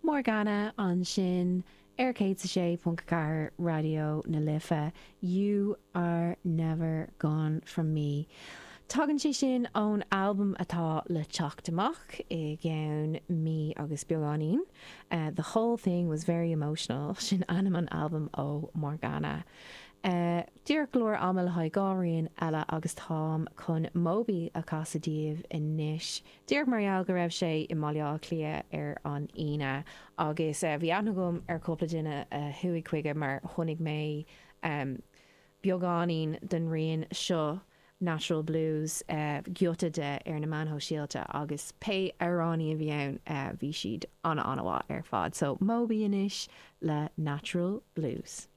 Morgana ansin ar 106.4 Raidió na Life, You Are Never Gone From Me. Tagann sé sin ón albam atá le teacht amach i gceann mí agus beagáinín, The Whole Thing Was Very Emotional, sin ainm an albaim ó Morgana. Díreach go leor ama le haghaidh 2 rian eile agus táim chun Moby a chasadh daoibh anois. Díreach mar gheall go raibh sé i mBaile Átha Cliath ar an Aoine agus bhí aithne agam ar chúpla duine a chuaigh chuige mar chonaic mé beagáinín den rian seo, Natural Blues, giota de ar na meáin shóisialta agus pé amhránaí a bhí ann bhí siad an-an-mhaith ar fad. So Moby anois le Natural Blues.